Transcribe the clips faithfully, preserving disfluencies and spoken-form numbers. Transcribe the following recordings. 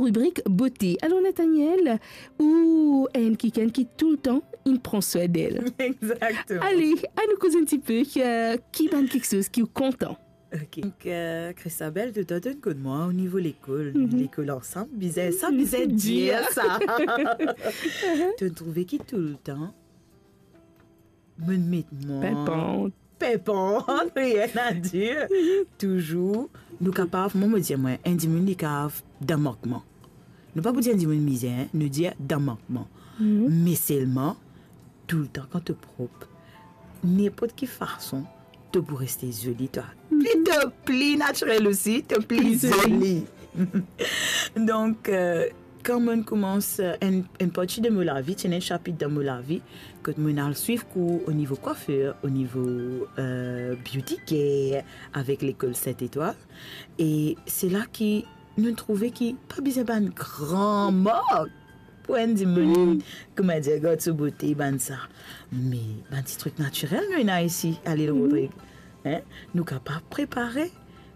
Ribrik bote. Alor, Nathaniel, ou enn kikenn ki toultan inn pran swin d'el. Exactement. Ale, anou koz enn tipe, euh, ki bann kiksoz ki ou kontan? Ok. Donc, euh, Christabel, toultan to'nn konn mwa o nivo lekol, nou lekol ansam, bizin, sa bizin dir sa. To'nn trouve ki toultan, mo'nn met mwa. Pimpant. Pimpant, rien à dire. Touzour, nou kapav, mwa, mo dir mwa, enn dimoun li kapav dan mankman. Nou pa pou dir enn dimoun mizer, nou dir dan mankman. Me selman, toultan kan to prop, ninport ki fason, to pou reste zoli, twa. Pli to pli natirel osi, to pli zoli. Donk, euh, kan mo'nn koumans, euh, enn, enn parti de mo lavi, ti ena enn sapit dan mo lavi, kot mo'nn al swiv kour o nivo kwafer, o nivo, euh, beauty care, avek lekol Sainte Etoile. E se la ki nou trouve ki pa bizin bann gran mark pou enn dimoun, koumadir, gard so bote, bann sa. Me bann ti trik natirel nou ena isi, a Lil Rodrig. Hein? Nou kapav prepare,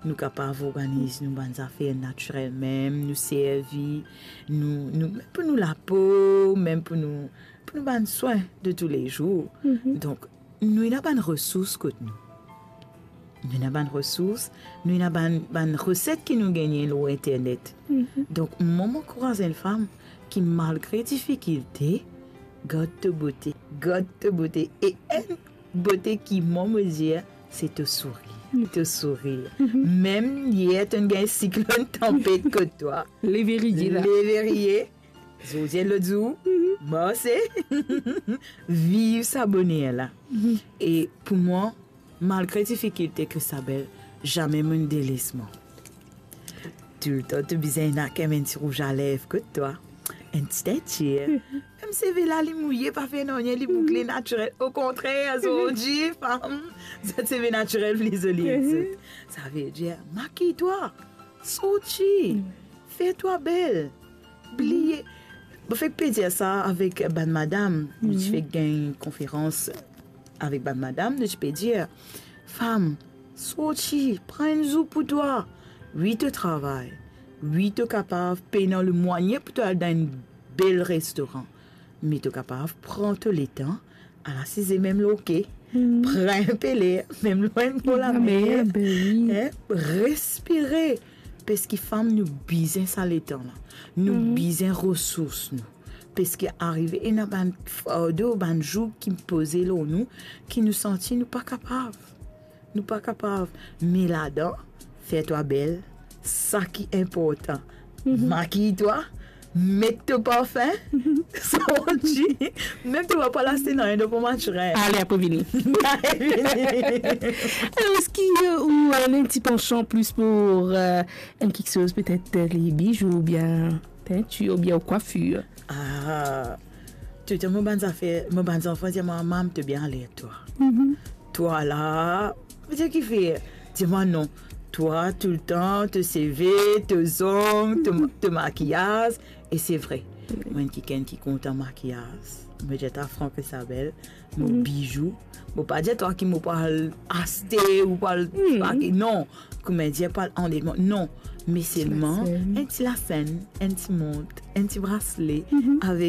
nou kapav organiz nou bann zafer natirel mem, nou servi, nou, nou, mem pou nou lapo, mem pou nou, pou nou bann swin de toulezour. Donk, nou ena bann resours kot nou. Nou ena bann resours, nou ena bann, bann reset ki nou gagne lor internet. Donk, mwa, mo ankouraz enn fam ki, malgre difikilte, gard to bote, gard to bote. E enn bote ki mwa, mo dir, se to sourir. To sourir. Mem yer, to'nn gagn siklonn, tanpet kot twa. Leve riye la. Leve riye. Zordi enn lot zour, marse, viv sa boner la. E pou mwa, malgre difikilte, Christabel, zame mo'nn deles mwa. Toultan to bizin ena kan mem enn ti rouzalerv kot twa, enn ti tintir. Mem seve la, li mouye, pa fer nanye, li boukle, natirel. Okontrer, zordi, fam, zot seve natirel pli zoli ek zot. Savedir, makiy twa, sorti, fer twa bel. Bliye. Mo fek pe dir sa avek bann madam. Nou ti fek gagn konferans avek bann madam, nou ti pe dir, fam, sorti, pran enn zour pou twa. Wi, to travay. Wi, to kapav pena lemwayen pou to al dan enn bel restoran. Me to kapav pran to letan, al asize mem lor ke, pran enpe ler, mem lor enn bo lamer, hein, respire. Parski fam, nou bizin sa letan la. Nou bizin resours nou. Parski arive ena bann fardo, bann zoug ki poze lor nou, ki nou santi nou pa kapav. Nou pa kapav. Me ladan, fer twa bel, sa ki inportan. Makiy twa, met to parfin, sorti, mem to pa pou al aste nanye, to pou marse. Ale, apre vini. Alor, eski, euh, ou, euh, ena enn ti pansman plis pou, euh, enn kiksoz, petet, euh, les bijoux oubien teinture oubien kwafir? Ah, toultan mo bann zafer, mo bann zanfan dir mwa, "Mam, to bien ale twa." Twa la, vedir ki fer? Dir mwa non. Twa toultan, to seve, to zong, to, to makiyaz. E se vre, mo enn kikenn ki kontan makiyaz. Mo dir twa, frank, Isabel, mo bijou, mo pa dir twa ki mo pou al aste ou pou al, non, koumadir, pou al andeman, non. Me selman enn ti lasenn, enn ti mont, enn ti brasle, avek